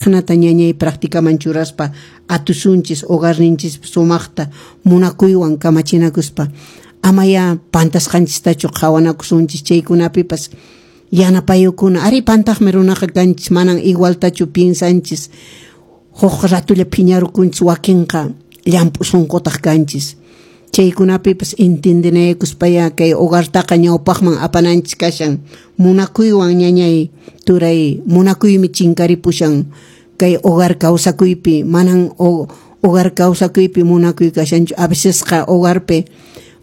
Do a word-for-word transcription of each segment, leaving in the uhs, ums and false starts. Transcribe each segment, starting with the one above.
Nata ñañay practicaman churaspa atusunchis hogarninchis sumaqta munakuywan kamachinakuspa amaya pantasqanchistachu qhawanakusunchis chaykunapipas yanapayukuna ari pantaqmi runaqa kanchis manan igualtachu piensanchis huk ratulla phiñarukunchis wakinqa llamp'u sunqutaq kanchis chaykunapipas entiendenaykuspaya kay hogartaqa ñawpaqman apananchis kashan munakuywan ñañay turay munakuymi chinkaripushan kay hogar kawsakuypi manan hogar kawsakuypi munakuy kashanchu a vecesqa hogarpi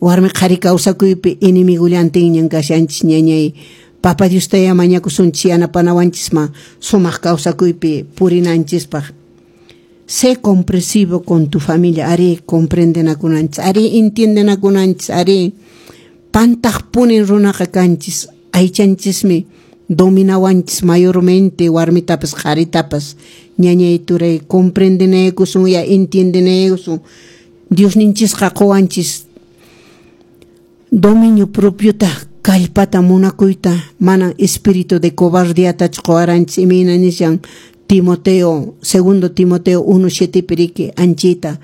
warmi qhari kawsakuypi enemigullantinñan kashanchis ñañay Papa Diostaya mañakusunchis yanapanawanchisma sumaq kawsakuypi purinanchispaq. Sé comprensivo con tu familia, ari comprendenakunanchis, ari entiendenakunanchis, ari pantaqpunin runaqa kanchis, aychanchismi dominawanchis mayormente warmitapas qharitapas ñañay turay comprendenaykusun ya entiendenaykusun Diosninchisqa quwanchis dominio propiota kallpata munakuyta manan espíritu de cobardiatachu quwaranchis imayna nishan Timoteo, segundo Timoteo uno siete piriki anchita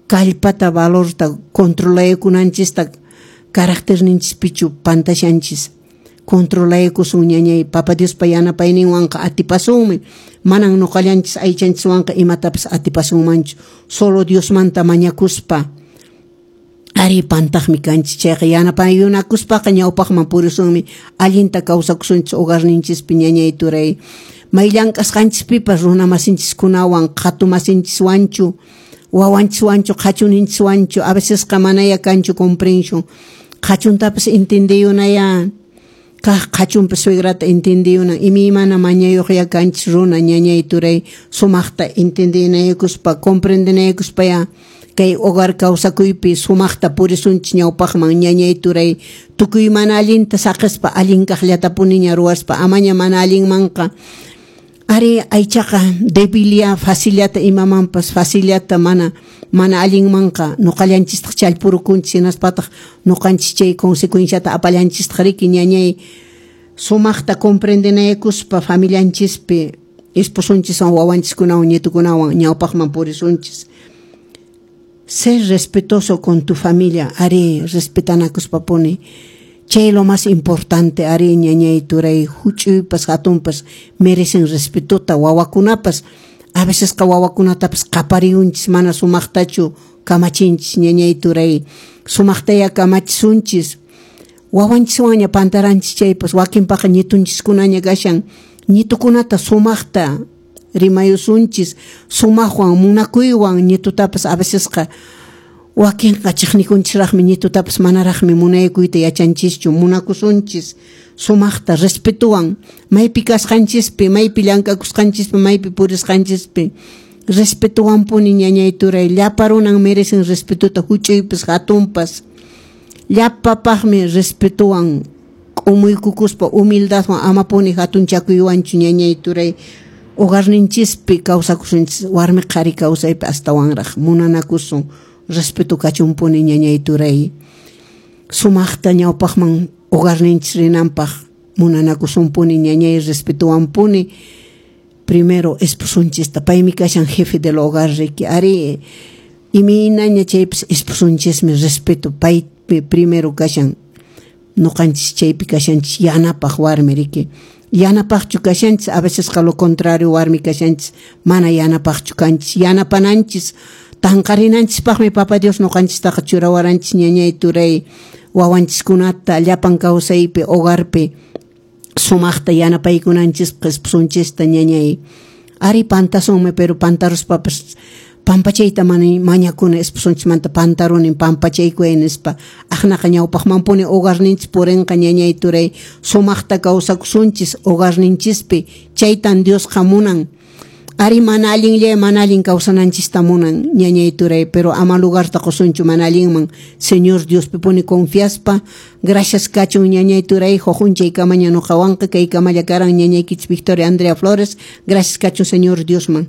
kallpata valorta controlaykunanchista carácterninchispichu pantashanchis controlaykusun ñañay Papa Diospa yanapayninwanqa atipasunmi manan nuqallanchis aychanchiswanqa imatapas atipasunmanchu solo Diosmanta mañakuspa ari pantaqmi kanchis chayqa yanapayunakuspaqa ñawpaqman purisunmi allinta kawsakusunchis hogarninchispi ñañay turay may llank'asqanchispipas runa masinchiskunawan qhatu masinchiswanchu wawanchiswanchu qhachuninchishwanchu a vecesqa manaya kanchu comprensión qhachuntapas entendiyunaya kaq qhachunpas suegrata entendiyunan imaymana mañayuqya kanchis runa ñañay turay sumaqta entendinaykuspa comprendenaykuspaya kay hogar kawsakuypi sumaqta purisunchis ñawpaqman ñañay turay tukuy mana allinta saqispa allin kaqllatapuniña ruwaspa amaña mana allinmanqa ari aychaqa debilia facillata imamanpas facillata mana mana allinmanqa nuqallanchistaq challpurukunchis hinaspataq nuqanchis chay consecuenciata apallanchistaq riki ñañay sumaqta comprendenaykuspa familianchispi esposonchiswan wawanchiskunawan nietukunawan ñawpaqman purisunchis. Ser respetuoso con tu familia, ari respetanakuspapuni chay lo más importante ari ñañay turay huch'uypas hatunpas merecen respetota wawakunapas a vecesqa wawakunatapas qapariyunchis mana sumaqtachu kamachinchis ñañay turay sumaqtaya kamachisunchis wawanchiswanña pantaranchis chaypas wakinpaqa ñitunchiskunaña kashan ñitukunata sumaqta rimayusunchis sumaqwan munakuywan ñitutapas a vecesqa wakinqa chiqnikunchisraqmi ñitutapas manaraqmi munaykuyta yachanchischu munakusunchis sumaqta respetuwan maypi kasqanchispi maypi llank'akusqanchispi maypi purisqanchispi respetuwanpuni ñañay turay llapa runan merecen respetuta huch'uypas hatunpas llapapaqmi respetuwan k'umuykukuspa humildadwan amapuni hatunchakuywanchu ñañay turay hogarninchispi kawsakusunchis warmi qhari kawsaypi astawanraq munanakusun respeto kachunpuni ñañay turay sumaqta ñawpaqman hogarninchis rinanpaq munanakusunpuni ñañay respetuwanpuni primero esposunchista paymi kashan jefe del hogar riki ari imaynaña chaypas esposunchismi respeto paypi primero kashan nuqanchis chaypi kashanchis yanapaq warmi riki yanapaqchu kashanchis a vecesqa lo contrario warmi kashanchis mana yanapaqchu kanchis yanapananchis tanqarinanchispaqmi Papa Dios nuqanchistaqa churawaranchis ñañay turay wawanchiskunata llapan kawsaypi hogarpi sumaqta yanapaykunanchispaq esposunchista ñañay ari pantasunmi pero pantaruspapas pampachayta mañakuna esposunchismanta pantarunin pampachaykuy nispa aqnaqa ñawpaqmanpuni hogarninchis purinqa ñañay turay sumaqta kawsakusunchis hogarninchispi chaytan Diosqa munan ari mana allinlla mana allin kawsananchista munan ñañay turay pero ama lugarta qusunchu mana allinman Señor Diospipuni confiaspa gracias kachun ñañay turay hujunchay kamaña nuqawanqa kay kamalla karan ñañaykichis Victoria Andrea Flores gracias kachun Señor Diosman.